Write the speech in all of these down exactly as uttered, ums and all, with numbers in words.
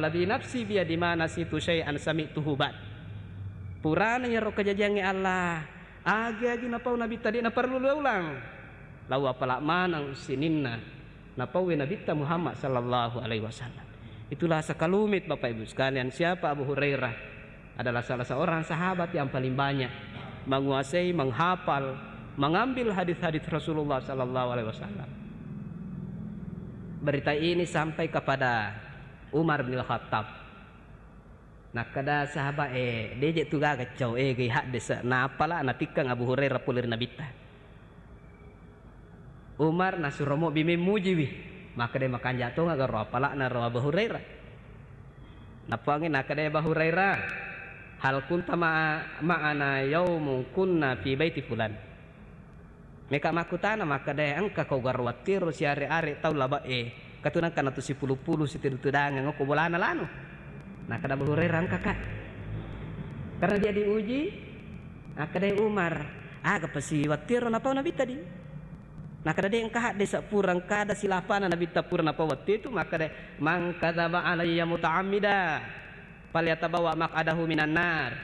Walladzi nafsi biyadi ma nasitu syai'an sami'tuhu ba'd. Purana iyaro kajajiangnge Allah, agi-agi napau Nabitta de' naparellu ulang. Lao apala maneng sininna napauwe Nabitta Muhammad sallallahu alaihi wasallam. Itulah sekelumit, Bapak Ibu sekalian, siapa Abu Hurairah adalah salah seorang sahabat yang paling banyak menguasai, menghafal, mengambil hadis-hadis Rasulullah sallallahu alaihi wasallam. Berita ini sampai kepada Umar bin Khattab. Nakkeda sahabat, "Eh, deje tu gaga cau, eh, gai haddese." Napala natikkang Abu Hurairah pole ri Nabitta. Umar nasuro mobbi memmujiwi. Makkeda, "Makanja tonga garo apala'na ro Abu Hurairah." Nappuangngi nakkeda Abu Hurairah, "Hal kunta ma'a-, ma'ana yaumun kunna fi baiti fulan?" Meka makkutana makkeda, "Engka kau garo wattiro siare-are tau labe'e, katuna engka natu sipulu-pulu sitedu-tedangeng ko bolana lanu?" Nakkeda Abu Hurairah, "Engka, Kak." Karena dia diuji, nakkeda Umar, "Aga pasi wattiro napau Nabitta di?" Nakkeda, "De' engka haddese pura engka ada silapana Nabitta pura napau wattitu." Makkeda, "Man kadzaba alayya muta'ammida falyatabawwa maq'adahu minan nar."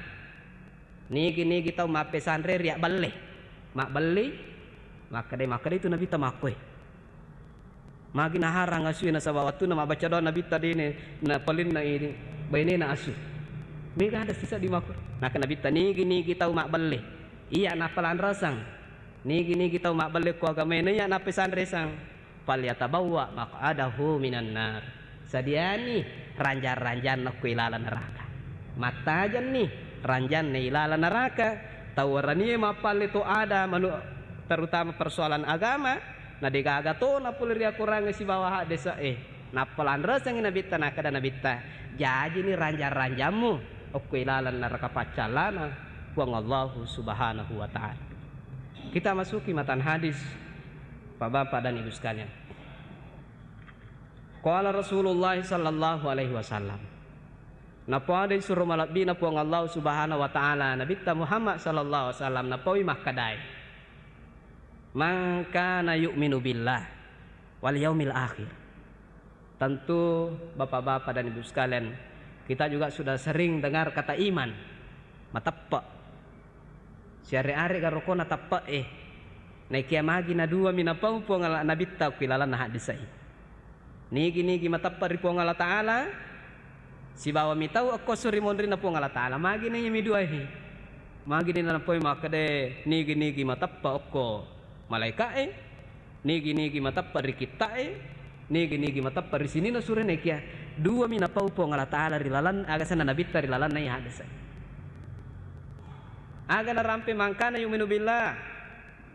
Nigi-nigi tau mappesanre riabballe, mabbelli, makkeda, makkeda itu Nabitta makkoe. Magi naharang asue nasaba wattunna mabbaca doa Nabitta dene napalenna ini bainena asu. Mega ada sisa di makko. Naka Nabitta nigi-nigi tau mabbelle, iya nappa lanrasang. Nigi-nigi tau mabbelle ko agamae na iya nappesanresang. "Falyatabawwa maq'adahu minan nar." Sadiani ranjang-ranjanna ko ilalang neraka. Mattajanni ranjanna ilalang neraka. Tau waranie mappalle to ada manu-, terutama persoalan agama, na degaga to na pole ri akorangnge sibawa haddese'e. Nappa lanresengngi Nabitta, nakkeda Nabitta, "Jajini ranjang-ranjammu okko ilalang neraka paccallana Puang Allahu Subhanahu wa Ta'ala." Kita masuki matan hadis, Bapak-bapak dan Ibu sekalian. Qala Rasulullah sallallahu alaihi wasallam. Napoada isuro malebbina Puang Allah Subhanahu wa Ta'ala, Nabitta Muhammad sallallahu alaihi wasallam, napaui makkedae, "Man kana yu'minu billah wal yaumil akhir." Tentu Bapak-bapak dan Ibu sekalian, kita juga sudah sering dengar kata iman, mateppe'. Siare-are garokona teppe'e. Naikia magi na dua mi napau Puang Allah Nabitta ku ilalanna haddese'i. Nigi-nigi mateppe' ri Puang Allah Ta'ala, sibawa mitau okko esso ri monrinna Puang Allah Ta'ala. Magi na iya mi duae. Magi na napoi makkeda nigi-nigi mateppe' okko malaika'e. Nigi-nigi mateppe' ri kitta'e, nigi-nigi mateppe' ri sininna sure, naikia dua mi napau Puang Allah Ta'ala ri lalan, aga senna Nabitta ri lalanna iya haddese. Aga narampe mangkana yu'minu billah.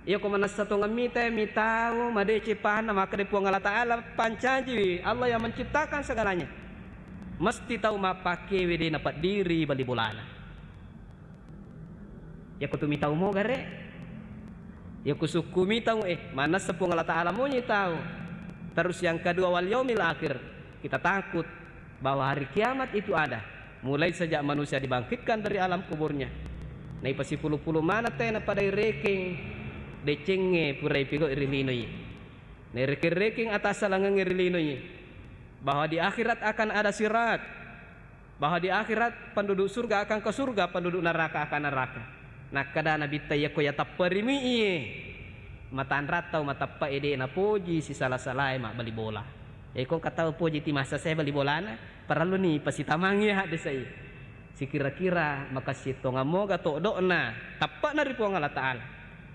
Iya ko manessa tongeng mita, mitau madeceng pahanna makkeda Puang Allah Ta'ala pancajiwi, Allah yang menciptakan segalanya. Mesti tau mappakkewe de napeddiri bali bolana. Yako tu mitau mo gare. Yako sukku mitau, eh, manessa Puang Allah Ta'ala mo nyitau. Terus yang kedua, wal yaumil akhir. Kita takut bahwa hari kiamat itu ada. Mulai sejak manusia dibangkitkan dari alam kuburnya. Naipasipulu-pulu mana te napadai rekeng decengnge purai pigau ri linoi. Nairekeng-rekeng atas salangengnge ri linoi. Bahwa di akhirat akan ada sirat. Bahwa di akhirat penduduk surga akan ke surga, penduduk neraka akan neraka. Nakkeda Nabitta, "Iyako yatepperimi iye, matanrang tau mateppe'e de napoji sisala-salae mabbali bola." Iko engka tau poji ti massa sae bali bolana, parelluni pasitamangngi haddese'i. Sikira-kira makessing tongeng moga todo'na teppe'na ri Puang Allah Ta'ala.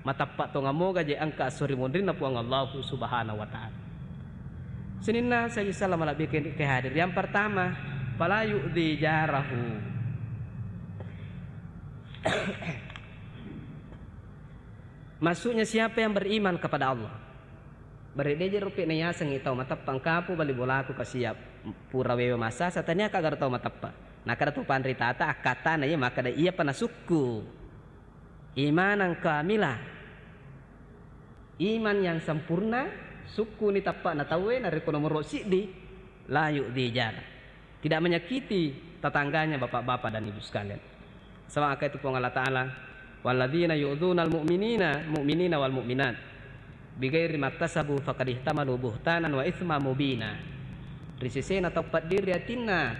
Mateppa' tongeng moga je engka esso ri monrinna Puang Allahu Subhanahu wa Ta'ala. Sininna saji sala malebbi ke, ke hadir. Yang pertama, fala yu'dzi jarahu. Maksudnya siapa yang beriman kepada Allah? Bare deje rupi na yasengngi tau mateppa engkapu bali bolaku kasiap pura wewe massasa tania kagaro tau mateppa. Nakada tu panritata akkatana iya makkada iyapa nasukku. Imanan kamila. Iman yang sempurna, sukkuni tappa'na tauwe, narekko nomoro siddi, la yu'dzi jara. Tidak menyakiti tetangganya, bapak-bapak dan ibu sekalian. Sama akai tu Puang Allah Ta'ala, "Walladzina yu'dzunal mu'minina, mu'minina wal mu'minat, bighairi maktasabu faqad ihtamalu buhtanan wa itsma mubina." Ri sesena tau paddiri atinna,